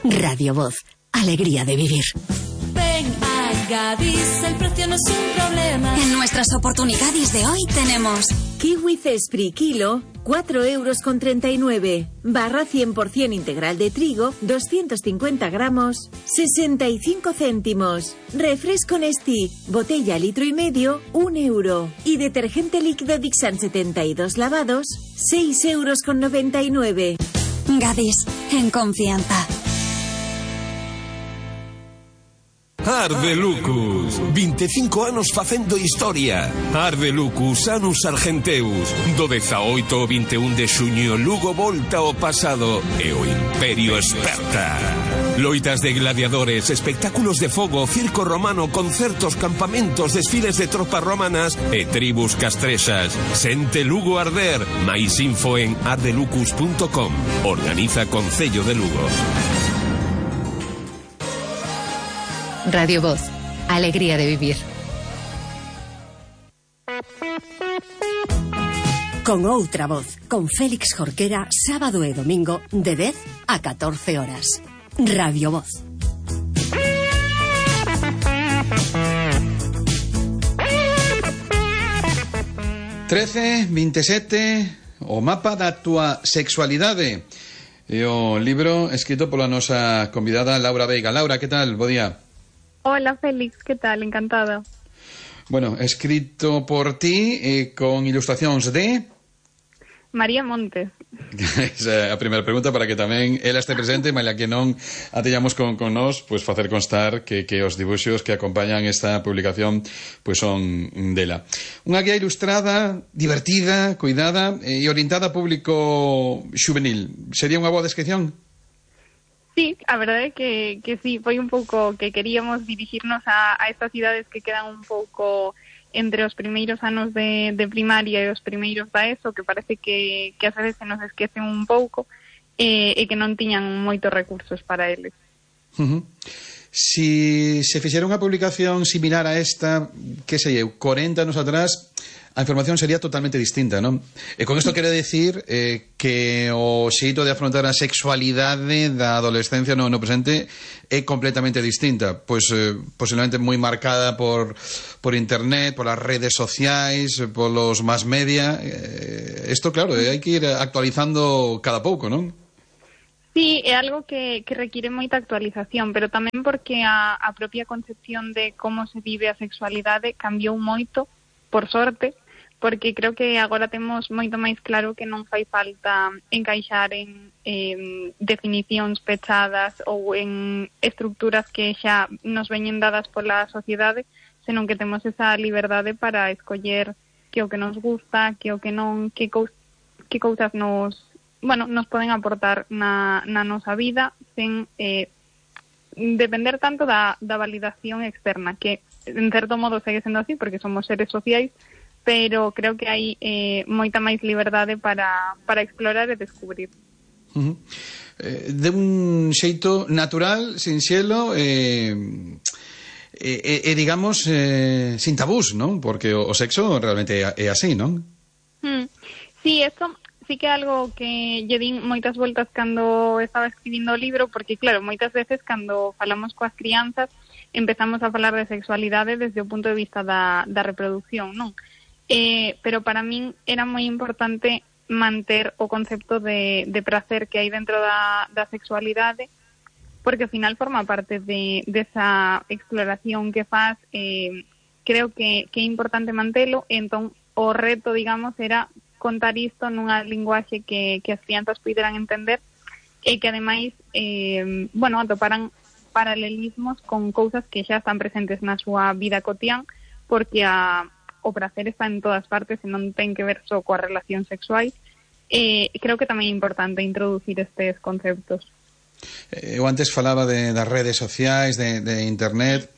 Radio Voz, alegría de vivir. Ven a Gadis, el precio no es un problema. En nuestras oportunidades de hoy tenemos kiwi Cespri kilo, 4,39 €. Barra 100% integral de trigo, 250 gramos, 65 céntimos. Refresco Nestí, botella 1,5 litros, 1 €. Y detergente líquido Dixan 72 lavados, 6,99 €. Gadis, en confianza. Arde Lucus, 25 anos facendo historia. Arde Lucus, Anus Argenteus. Do 18 ao 21 de xuño, Lugo volta ao pasado e o Imperio esperta. Loitas de gladiadores, espectáculos de fogo, circo romano, concertos, campamentos, desfiles de tropas romanas e tribus castrexas. Sente Lugo arder. Mais info en ardelucus.com. Organiza Concello de Lugo. Radio Voz, alegría de vivir. Con outra voz, con Félix Jorquera, sábado e domingo, de 10 a 14 horas. Radio Voz. «1327, o mapa da túa sexualidade». E o libro escrito pola nosa convidada Laura Veiga. Laura, que tal? Bo día. Hola Félix, ¿qué tal? Encantada. Bueno, escrito por ti con ilustracións de... María Montes. Esa é a primeira pregunta para que tamén ela este presente, maila que non a teñamos con nós, pois facer constar que os dibuxos que acompañan esta publicación pois son dela. Unha guía ilustrada, divertida, cuidada e orientada a público xuvenil. Sería unha boa descripción? Sí, a verdade é que sí, foi un pouco que queríamos dirigirnos a estas idades que quedan un pouco entre os primeiros anos de primaria e os primeiros da ESO, que parece que ás veces se nos esquecen un pouco e que non tiñan moitos recursos para eles. Si se fixera unha publicación similar a esta, que sei eu, 40 anos atrás, a información sería totalmente distinta, non? E con isto quero dicir que o xeito de afrontar a sexualidade da adolescencia no presente é completamente distinta, pois posiblemente moi marcada por internet, polas redes sociais, polos mass media. Isto, claro, hai que ir actualizando cada pouco, non? Sí, é algo que require moita actualización, pero tamén porque a propia concepción de como se vive a sexualidade cambiou moito, por sorte, porque creo que agora temos moito máis claro que non fai falta encaixar en definicións pechadas ou en estructuras que xa nos veñen dadas pola sociedade, senón que temos esa liberdade para escoller que o que nos gusta, que o que non, que cousas nos poden aportar na nosa vida sen depender tanto da validación externa, que en certo modo segue sendo así porque somos seres sociais, pero creo que hai moita máis liberdade para explorar e descubrir. De un xeito natural, sinxelo digamos sin tabús, non? Porque o sexo realmente é así, non? Sí, esto sí que é algo que lle din moitas voltas cando estaba escribindo o libro, porque claro, moitas veces cando falamos coas crianzas empezamos a falar de sexualidade desde o punto de vista da reproducción, non? Pero para min era moi importante manter o concepto de prazer que hai dentro da sexualidade, porque ao final forma parte desa exploración que faz. Creo que é importante mantelo, entón o reto, digamos, era contar isto nunha linguaxe que as crianzas puderan entender e que ademais atoparan paralelismos con cousas que xa están presentes na súa vida cotián, porque o prazer está en todas partes e non ten que ver só coa relación sexual. Creo que tamén é importante introducir estes conceptos. Eu antes falaba das redes sociais, de internet.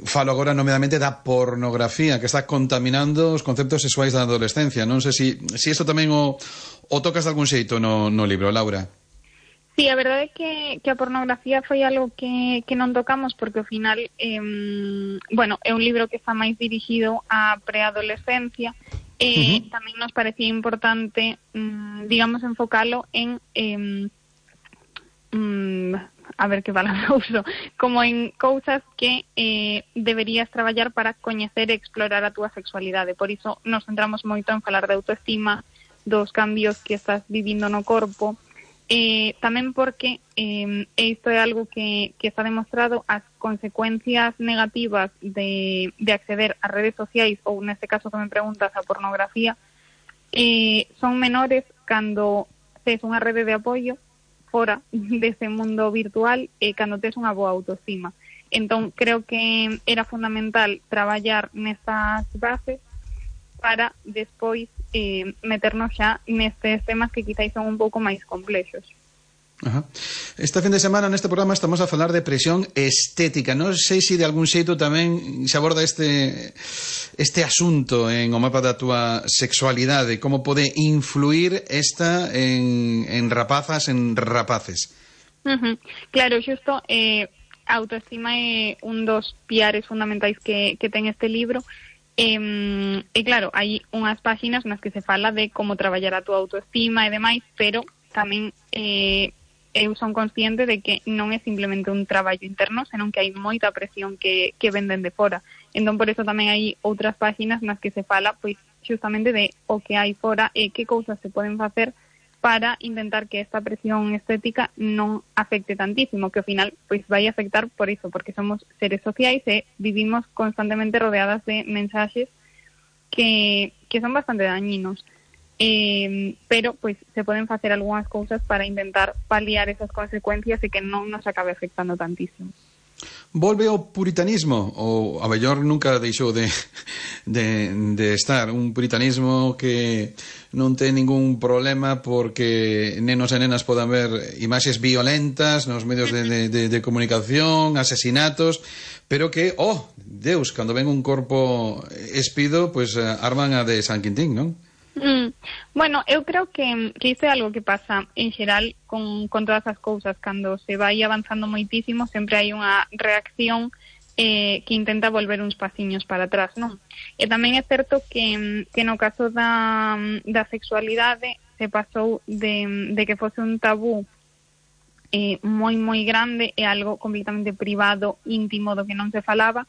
Falo agora nomeadamente da pornografía, que está contaminando os conceptos sexuais da adolescencia. Non sei se isto tamén o tocas de algún xeito no libro, Laura. Sí, a verdade é que a pornografía foi algo que non tocamos, porque ao final é un libro que está máis dirixido á preadolescencia e tamén nos parecía importante, digamos, enfocalo en a ver que palabra uso, como en cousas que deberías traballar para coñecer e explorar a túa sexualidade. Por iso nos centramos moito en falar de autoestima, dos cambios que estás vivindo no corpo, tamén porque isto é algo que está demostrado, as consecuencias negativas de acceder a redes sociais, ou neste caso que me preguntas, a pornografía, son menores cando tes unha rede de apoio fora dese mundo virtual e cando tes unha boa autoestima. Entón, creo que era fundamental traballar nestas bases para despois meternos xa nestes temas que quizáis son un pouco máis complexos. Ajá. Este fin de semana neste programa estamos a falar de presión estética. Non sei se de algún xeito tamén se aborda este asunto en o mapa da túa sexualidade, como pode influir esta en rapazas, en rapaces. Claro, xusto, a autoestima é un dos piares fundamentais que ten este libro. E claro, hai unhas páxinas nas que se fala de como traballar a túa autoestima e demais, pero tamén eu son consciente de que non é simplemente un traballo interno, senón que hai moita presión que venden de fora. Entón, por eso tamén hai outras páxinas nas que se fala pois justamente de o que hai fora e que cousas se poden facer para intentar que esta presión estética non afecte tantísimo, que ao final pois vai afectar por iso, porque somos seres sociais e vivimos constantemente rodeadas de mensaxes que son bastante dañinos. Pero pois se poden facer algunhas cousas para intentar paliar esas consecuencias e que non nos acabe afectando tantísimo. Volve o puritanismo, ou a mellor nunca deixou de estar un puritanismo que non ten ningún problema porque nenos e nenas podan ver imaxes violentas nos medios de comunicación, asesinatos, pero que, oh, Deus, cando ven un corpo espido, pois arman a de San Quintín, non? Bueno, eu creo que isto é algo que pasa en xeral con todas as cousas. Cando se vai avanzando moitísimo sempre hai unha reacción que intenta volver uns pasiños para atrás, non? E tamén é certo que no caso da sexualidade se pasou de que fose un tabú moi moi grande e algo completamente privado, íntimo, do que non se falaba,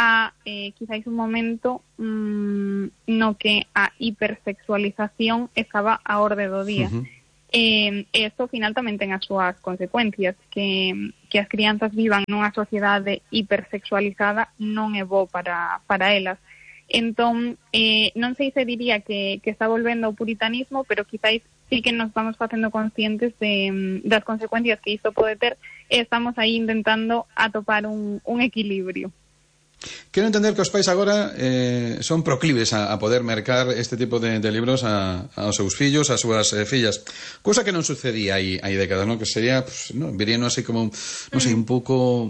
a quizáis un momento no que a hipersexualización estaba a orde do día. E isto ao final tamén ten as súas consecuencias, que as crianzas vivan nunha sociedade hipersexualizada non é bo para elas. Entón, non sei se diría que está volvendo ao puritanismo, pero quizáis sí que nos estamos facendo conscientes das consecuencias que isto pode ter e estamos aí intentando atopar un equilibrio. Quero entender que os pais agora son proclives a poder mercar este tipo de libros aos seus fillos, ás súas fillas, cousa que non sucedía hai décadas, non? Que sería, pues, no, verían así como, non sei, un pouco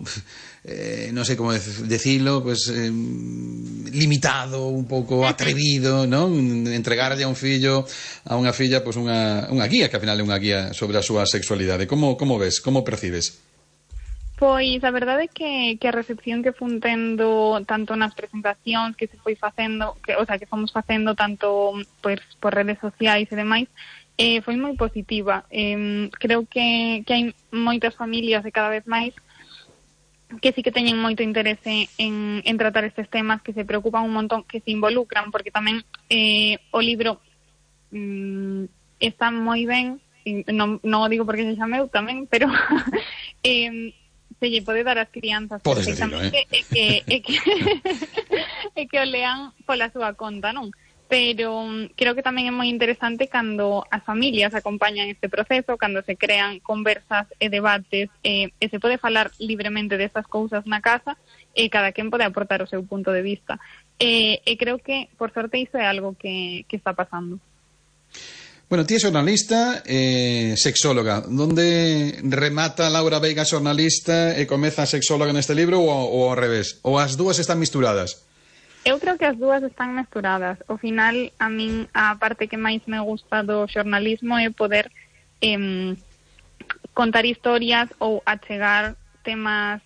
non sei como decirlo, pues limitado, un pouco atrevido, non? Entregarlle a un fillo, a unha filla, pues unha guía, que ao final é unha guía sobre a súa sexualidade. Como ves, como percibes? Pois a verdade é que a recepción que fun tendo tanto nas presentacións que se foi facendo, que fomos facendo tanto pois por redes sociais e demais, foi moi positiva. Creo que hai moitas familias e cada vez máis que sí que teñen moito interese en tratar estes temas, que se preocupan un montón, que se involucran, porque tamén o libro está moi ben, non o digo porque se chameu tamén, pero se lle pode dar ás crianzas perfectamente e que o lean pola súa conta, non? Pero creo que tamén é moi interesante cando as familias acompañan este proceso, cando se crean conversas e debates e se pode falar libremente destas cousas na casa e cada quen pode aportar o seu punto de vista. E creo que, por sorte, iso é algo que está pasando. Bueno, ti é xornalista e sexóloga. Donde remata Laura Veiga xornalista e comeza sexóloga neste libro ou ao revés? Ou as dúas están misturadas? Eu creo que as dúas están misturadas. Ao final, a min, a parte que máis me gusta do xornalismo é poder contar historias ou achegar temas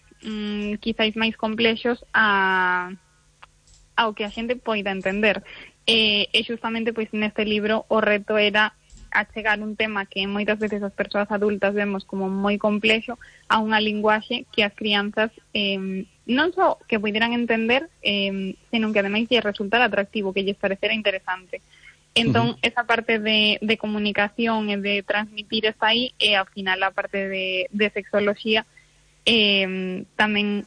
quizáis máis complexos ao que a xente poida entender. E justamente pois neste libro o reto era achegar un tema que moitas veces as persoas adultas vemos como moi complexo a unha linguaxe que as crianzas non só que puderan entender, senón que ademais lle resultar atractivo, que lles parecera interesante. Entón, esa parte de comunicación e de transmitir está aí, e ao final a parte de sexoloxía tamén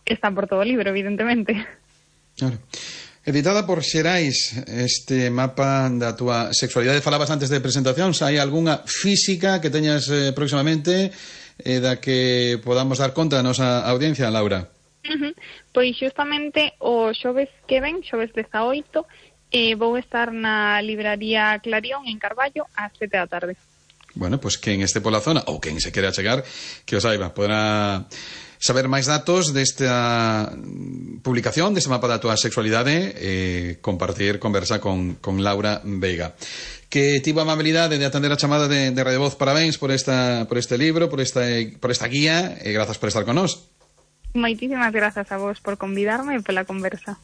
está por todo o libro, evidentemente. Claro. Editada por Xerais, este mapa da túa sexualidade. Falabas antes de presentacións, hai algunha física que teñas próximamente da que podamos dar conta a nosa audiencia, Laura? Pois xustamente o xoves que ven, xoves 18, vou estar na libraría Clarión en Carballo ás 7 da tarde. Bueno, pues quen este pola zona ou quen se quere achegar, que o saiba, poderá saber máis datos desta publicación, deste mapa da túa sexualidade, compartir conversa con Laura Veiga, que tivo a amabilidade de atender a chamada de Radio Voz. Parabéns por este libro, por esta guía, e grazas por estar con nós. Moitísimas grazas a vos por convidarme e pola conversa.